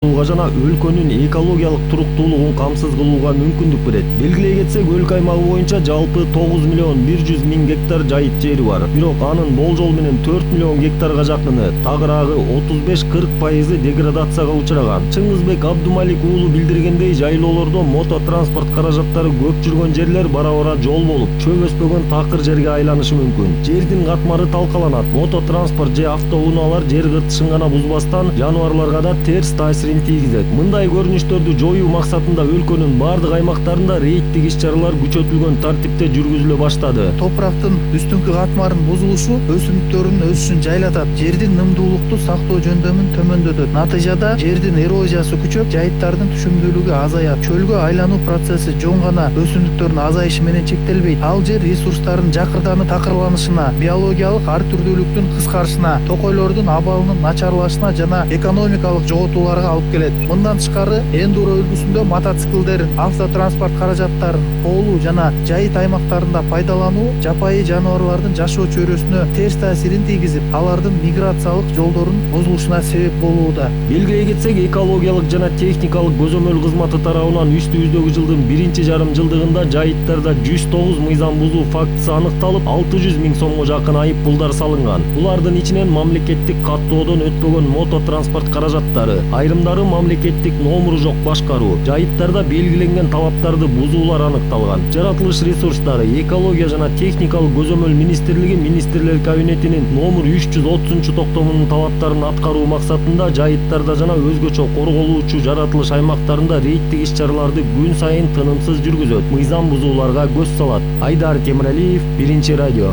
жана өлкөнүн экологиялык туруктуулугун камсыз кылууга мүмкүндүк берет. Белгилей кетсек, өлкө аймагы боюнча жалпы 9 миллион 100 миң гектар жайыт жери бар. Бирок анын болжол менен 4 миллион гектарга жакыны, тагыраагы 35-40% деградацияга учураган. Чыңгызбек Абдумалик уулу билдиргендей, жайлоолордо мототранспорт каражаттары көп жүргөн жерлер бара-бара жол болуп, чөп өспөгөн такыр жерге айланышы мүмкүн. Жердин катмары талкаланат. Мототранспорт же автоунаалар жер кыртышын гана бузбастан, жаныбарларга да терс таасирин тийгизет. Мындай көрүнүштөрдү жоюу максатында өлкөнүн бардык аймактарында рейдтик иш-чаралар күчөтүлгөн тартипте жүргүзүлө баштады. Топурактын үстүңкү катмарынын бузулушу өсүмдүктөрдүн өсүшүн жайлатат, жердин нымдуулукту сактоо жөндөмүн төмөндөтөт. Натыйжада жердин эрозиясы күчөп, жайыттардын түшүмдүүлүгү азаят. Чөлгө айлануу процесси жон гана өсүмдүктөрдүн азайышы менен чектелбейт. Ал жер ресурстарынын жакырданып такырланышына, биологиялык ар түрдүүлүктүн кыскарышына, токойлордун абалынын начарлашына жана экономикалык жоготууларга алып келет. Мындан тышкары, эндуро үлгүсүндө мотоциклдерин, автотранспорт каражаттарын коолуу жана жайыт аймактарында пайдалануу жапайы жаныбарлардын жашоо чөйрөсүнө терс таасирин тийгизип, алардын миграциялык жолдорунун бузулушуна себеп болууда. Белгилей кетсек, экологиялык жана техникалык көзөмөл кызматы тарабынан үстүбүздөгү жылдын биринчи жарым жылдыгында жайыттарда 109 мыйзам бузуу фактысы аныкталып, 600 миң сомго жакын айып пулдар салынган. Булардын ичинен мамлекеттик каттоодон өтпөгөн мототранспорт каражаттары, айрымдары мамлекеттик номуру жок башкаруу, жайыттарда белгиленген талаптарды бузуулар аныкталган. Жаратылыш ресурстары, экология жана техникалык көзөмөл министрлиги Министрлер кабинетинин номер 330 токтомунун талаптарын аткаруу максатында жайыттарда жана өзгөчө корголуучу жаратылыш аймактарында рейдтик иш-чараларды күн сайын тынымсыз жүргүзөт, мыйзам бузууларга көз салат. Айдар Темиралиев, Биринчи радио.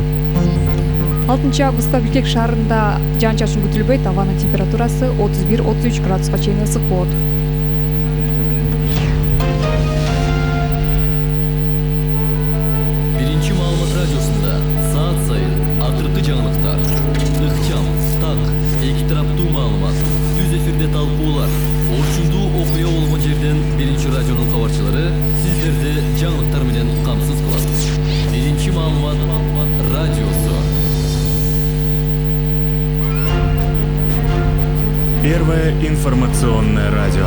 6 августта Бишкек шаарында жаан-чачын күтүлбөйт, абанын температурасы 31-33 градуска чейин ысык болот. Биринчи маалымат радиосунда саат сайын акыркы жаңылыктар, ыкчам, так, эки тараптуу маалымат, түз эфирде талкуулар, орчундуу окуя болгон жерден Биринчи радионун кабарчылары сиздерди жаңылыктар менен камсыз кылат. Биринчи маалымат радиосу. Первое информационное радио.